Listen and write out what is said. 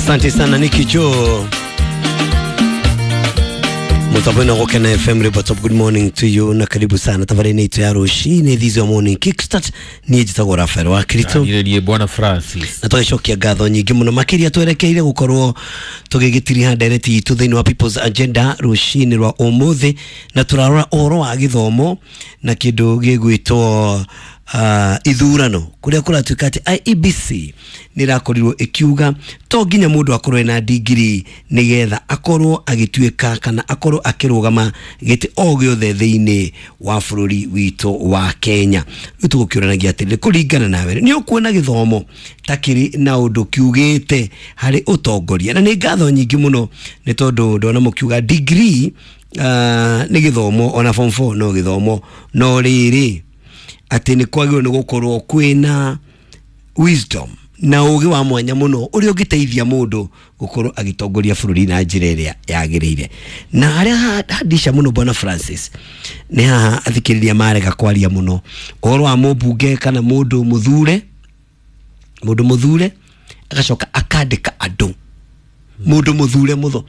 Asante sana Nicky Joe. Mutapwena Gokena FM Report of good morning to you na karibu sana tabarĩ-inĩ itũ ya rũcinĩ this your morning kickstart. Niĩ njĩtagwo Rafael wa Kirito. Niĩ bwana Francis. Na tũgĩcokia ngatho nyingĩ mũno makĩria twerekeire gũkorwo tũgĩgĩtiriha ndereti itũ thĩinĩ wa People's Agenda rũcinĩ rwa ũmũthĩ, na tũrarora ũhoro wa gĩthomo na kĩndũ gĩgwĩtwo ithurano, kũrĩa kũratuĩka atĩ IEBC nĩ ĩrakorirwo ĩkiuga to nginya mũndũ akorwo ena ndigiri nĩgetha akorwo agĩtuĩka kana akorwo akĩrũgama gĩtĩ o gĩothe thĩinĩ wa bũrũri witũ wa Kenya. Rĩu tũgũkĩũranagia atĩrĩrĩ, kũringana nawe nĩ ũkuona gĩthomo ta kĩrĩ na ũndũ kiugĩte harĩ ũtongoria? Na nĩ ngatho nyingĩ mũno nĩ tondũ ndona mũkiuga degree nĩ gĩthomo, ona form 4 no gĩthomo, no rĩrĩ atĩ nĩ kwagĩrĩirwo nĩ gũkorwo kwĩna wisdom na ũgĩ wa mwanya mũno ũrĩa ũngĩteithia mũndũ gũkorwo agĩtongoria bũrũri na njĩra ĩrĩa yagĩrĩire. Na harĩa handisha mũno, bwana Francis, nĩ haha athikĩrĩria marega kwaria mũno ũhoro wa mũmbunge kana mũndũ mũthure, mũndũ mũthure agacoka akandĩka andũ, mũndũ mũthure mũtho.